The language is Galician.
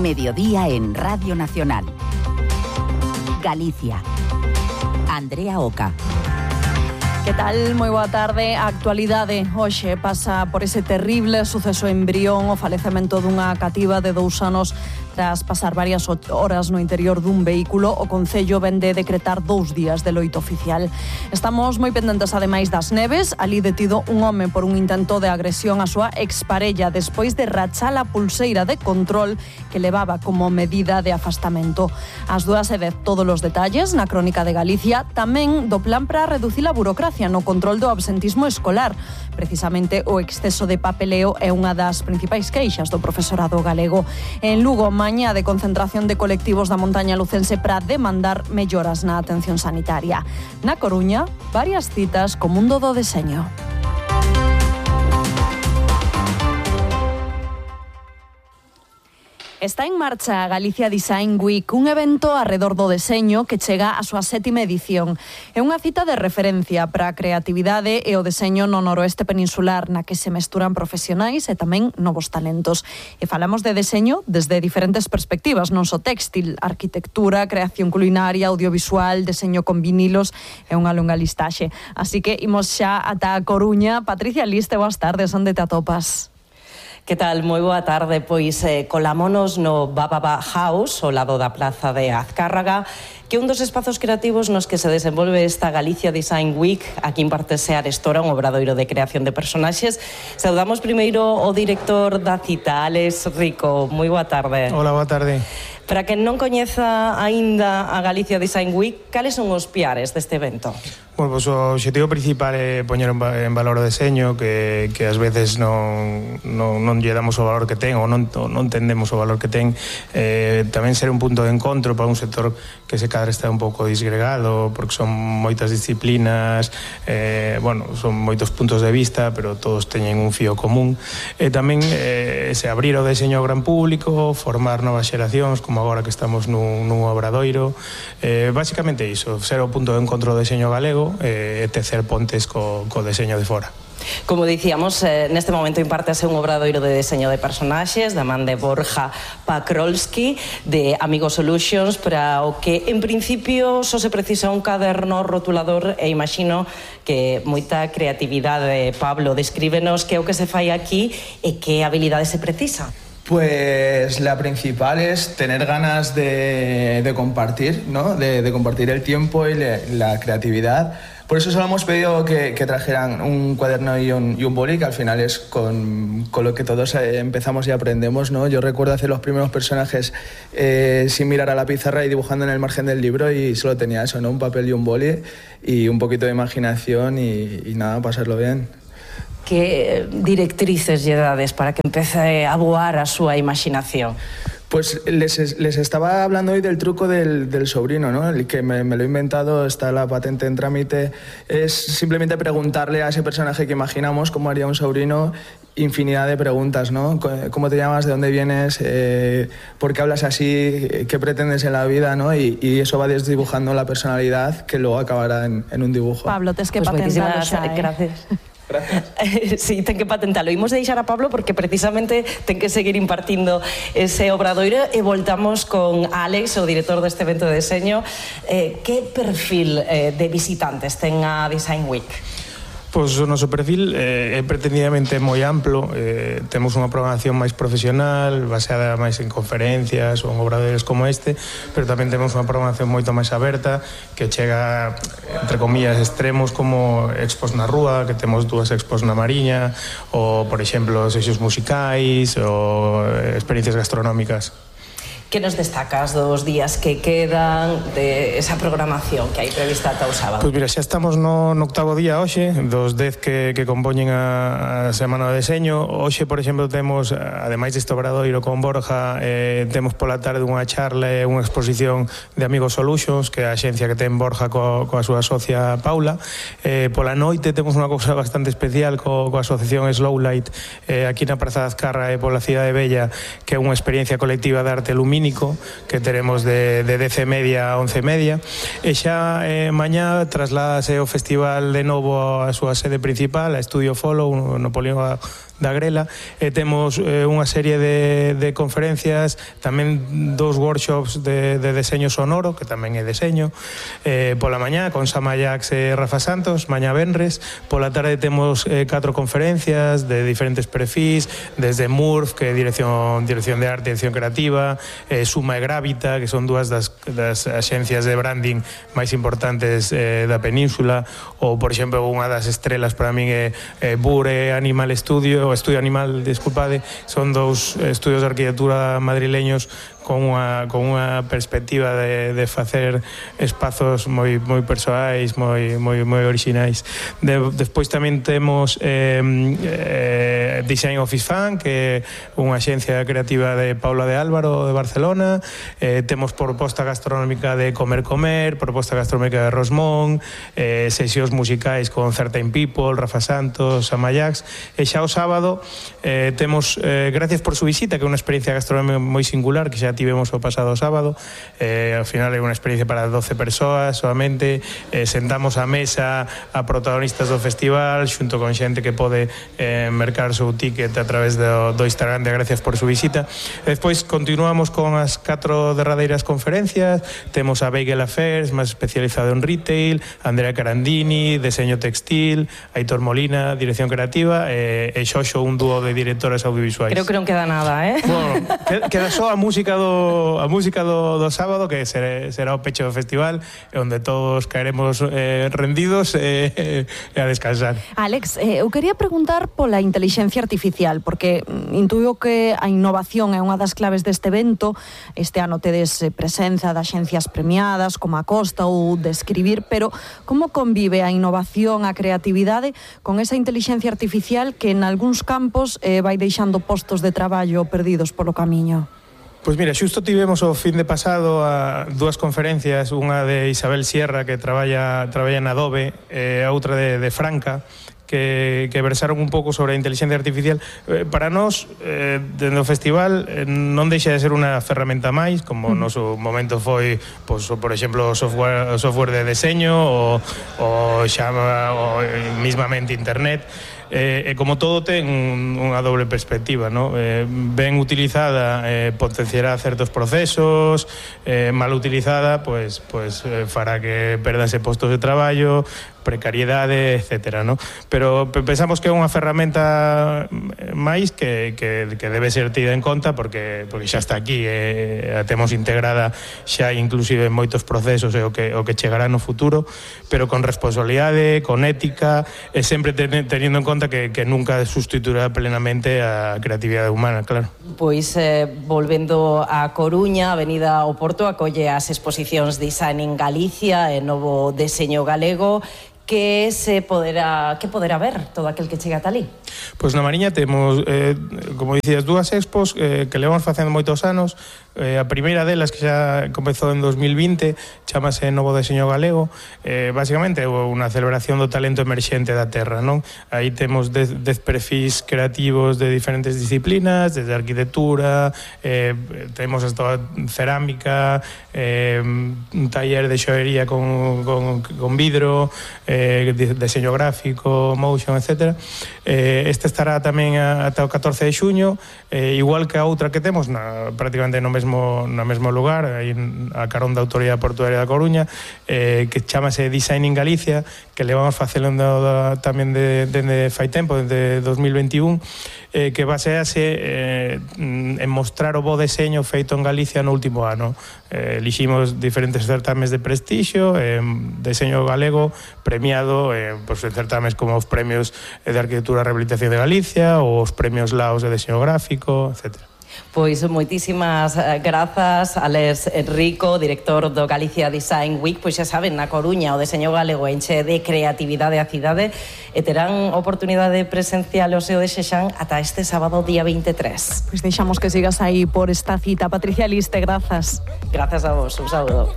Mediodía en Radio Nacional. Galicia. Andrea Oca. Que tal? Moi boa tarde. A actualidade hoxe pasa por ese terrible suceso en Brión, o falecemento dunha cativa de 2 anos tras pasar varias horas no interior dun vehículo. O Concello ven de decretar 2 días de loito oficial. Estamos moi pendentes ademais das Neves. Ali detido un home por un intento de agresión á súa exparella despois de rachar a pulseira de control que levaba como medida de afastamento. Ás 2:10 todos os detalles na Crónica de Galicia, tamén do plan para reducir a burocracia no control do absentismo escolar. Precisamente o exceso de papeleo é unha das principais queixas do profesorado galego. En Lugo, mañá de concentración de colectivos da montaña lucense para demandar melloras na atención sanitaria. Na Coruña, varias citas co mundo do deseño. Está en marcha a Galicia Design Week, un evento arredor do deseño que chega á súa 7ª edición. É unha cita de referencia para a creatividade e o deseño no noroeste peninsular, na que se mesturan profesionais e tamén novos talentos. E falamos de deseño desde diferentes perspectivas, non só téxtil, arquitectura, creación culinaria, audiovisual, deseño con vinilos e unha longa listaxe. Así que imos xa ata a Coruña. Patricia Liste, boas tardes, onde te atopas? Que tal? Moi boa tarde. Pois colámonos no Bababa House, ao lado da Plaza de Azcárraga, que é un dos espazos creativos nos que se desenvolve esta Galicia Design Week. Aquí impartese a Arestora, un obradoiro de creación de personaxes. Saudamos primeiro o director da cita, Alex Rico. Moi boa tarde. Hola, boa tarde. Para quen non coñeza aínda a Galicia Design Week, cales son os piares deste evento? Bueno, pues o objetivo principal é poñer en valor o deseño, que ás veces non lle damos o valor que ten ou non entendemos o valor que ten. Tamén ser un punto de encontro para un sector que se cadra está un pouco disgregado, porque son moitas disciplinas, son moitos puntos de vista, pero todos teñen un fío común. Tamén se abrir o deseño ao gran público, formar novas xeracións, como agora que estamos nun obradoiro. Básicamente iso, ser o punto de encontro do deseño galego e tecer pontes co deseño de fora. Como dicíamos, neste momento impártese un obradoiro de deseño de personaxes da man de Borja Pakrolski de Amigo Solutions, para o que en principio só se precisa un caderno rotulador e imagino que moita creatividade. Pablo, descríbenos que é o que se fai aquí e que habilidade se precisa. Pues la principal es tener ganas de compartir, ¿no? De compartir el tiempo y la creatividad. Por eso solo hemos pedido que trajeran un cuaderno y un boli, que al final es con lo que todos empezamos y aprendemos, ¿no? Yo recuerdo hacer los primeros personajes sin mirar a la pizarra y dibujando en el margen del libro, y solo tenía eso, ¿no? Un papel y un boli y un poquito de imaginación y nada, pasarlo bien. Que directrices lle dades para que empece a voar a súa imaginación? Pues les estaba hablando hoy del truco del sobrino, ¿no? El que me lo he inventado, está la patente en trámite. Es simplemente preguntarle a ese personaje que imaginamos cómo haría un sobrino, infinidad de preguntas, ¿no? ¿Cómo te llamas? ¿De dónde vienes? ¿Por qué hablas así? ¿Qué pretendes en la vida? ¿No? Y eso va desdibujando la personalidad, que luego acabará en un dibujo. Pablo, tes que patentarlo xa, Gracias. Gracias. Sí, ten que patentalo. Imos deixar a Pablo porque precisamente ten que seguir impartindo ese obradoiro, e voltamos con Alex, o director deste evento de deseño. Que perfil de visitantes ten a Design Week? Pois o noso perfil é pretendidamente moi amplo. Temos unha programación máis profesional, baseada máis en conferencias ou en obradoiros como este, pero tamén temos unha programación moito máis aberta, que chega, entre comillas, extremos como expos na rúa, que temos 2 expos na Mariña, ou, por exemplo, sesións musicais ou experiencias gastronómicas. Que nos destacas dos días que quedan de esa programación que hai prevista ata o sábado? Pois mira, xa estamos no 8º día hoxe, dos 10 que compoñen a Semana de Deseño. Hoxe, por exemplo, temos, ademais deste obradoiro con Borja, temos pola tarde unha charla e unha exposición de Amigo Solutions, que é a axencia que ten Borja coa súa socia Paula. Pola noite temos unha cousa bastante especial coa asociación Slowlight, aquí na Praza de Azcarra e pola Cidade Bella, que é unha experiencia colectiva de arte lumínico que teremos de 10:30 a 11:30, e xa mañá trasládase o festival de novo a súa sede principal, a Estudio Follow, no polígono da Grela, e temos unha serie de conferencias, tamén 2 workshops de deseño sonoro, que tamén é deseño, pola mañá con Sama Jax e Rafa Santos, mañá venres. Pola tarde temos 4 conferencias de diferentes perfis, desde MURF, que é dirección de arte e dirección creativa, Suma e Gravita, que son 2 das axencias de branding máis importantes da península, ou, por exemplo, unha das estrelas para min é Bure Animal Studio, o Estudio Animal, disculpade, son 2 estudios de arquitectura madrileños con unha perspectiva de facer espazos moi persoais, moi orixinais. Despois tamén temos Design Office Fan, que é unha axencia creativa de Paula de Álvaro de Barcelona. Temos proposta gastronómica de Comer, proposta gastronómica de Rosmón, sesións musicais con Certain People, Rafa Santos, Sama Jax. E xa o sábado temos Gracias por su visita, que é unha experiencia gastronómica moi singular, que xa tivemos o pasado sábado. Ao final é unha experiencia para 12 persoas solamente. Sentamos a mesa a protagonistas do festival xunto con xente que pode mercar o seu ticket a través do Instagram de Gracias por su visita. E despois continuamos con as 4 derradeiras conferencias. Temos a Bagel Affairs, máis especializado en retail, Andrea Carandini, deseño textil, Aitor Molina, dirección creativa, e Xoxo, un dúo de directoras audiovisuais. Creo que non queda nada, Bueno, queda só a música do sábado, que será o pecho do festival, onde todos caeremos rendidos e a descansar. Alex, eu quería preguntar pola intelixencia artificial, porque intuyo que a innovación é unha das claves deste evento. Este ano tedes presenza de axencias premiadas como a Costa ou de Escribir, pero como convive a innovación, a creatividade con esa intelixencia artificial que en algúns campos vai deixando postos de traballo perdidos polo camiño? Pois mira, xusto tivemos o fin de pasado a 2 conferencias, unha de Isabel Sierra, que traballa en Adobe, e a outra de Franca, que versaron un pouco sobre a inteligencia artificial. Para nós, dentro do festival, non deixa de ser unha ferramenta máis, como no seu momento foi, por exemplo, o software de deseño ou mismamente internet. E como todo ten unha doble perspectiva, ¿no? Ben utilizada potenciará certos procesos, mal utilizada pues fará que perdanse postos de traballo, precariedade, etcétera, ¿no? Pero pensamos que é unha ferramenta máis que debe ser tida en conta porque xa está aquí, a temos integrada xa inclusive en moitos procesos e o que chegará no futuro, pero con responsabilidade, con ética, e sempre teniendo en conta que nunca sustituirá plenamente a creatividade humana, claro. Pois, volvendo a Coruña, a Avenida Oporto acolle as exposicións Design en Galicia e Novo Deseño Galego. Que poderá ver todo aquel que chega ata ali? Pois na Mariña temos, como dicías, 2 expos que levamos facendo moitos anos. A primeira delas, que xa comezou en 2020, chamase Novo Deseño Galego. Basicamente é unha celebración do talento emerxente da terra, non? Aí temos 10 perfis creativos de diferentes disciplinas, desde arquitectura, temos hasta cerámica, un taller de xoería con vidro, deseño gráfico, motion, etc. Este estará tamén ata o 14 de xuño, igual que a outra que temos prácticamente no mesmo lugar, aí a carón da Autoridade Portuaria da Coruña, que chamase Design en Galicia, que levamos facendo tamén dende fai tempo, desde 2021, que basease en mostrar o bo deseño feito en Galicia no último ano. Eliximos diferentes certames de prestixio, deseño galego premiado en certames como os premios de Arquitectura e Rehabilitación de Galicia ou os premios Laos de Deseño Gráfico, etc. Pois moitísimas grazas, Alex Rico, director do Galicia Design Week. Pois xa saben, na Coruña o deseño galego enche de creatividade a cidade e terán oportunidade presencial o seu desexan ata este sábado día 23. Pois deixamos que sigas aí por esta cita. Patricia Liste, grazas. Grazas a vos, un saúdo.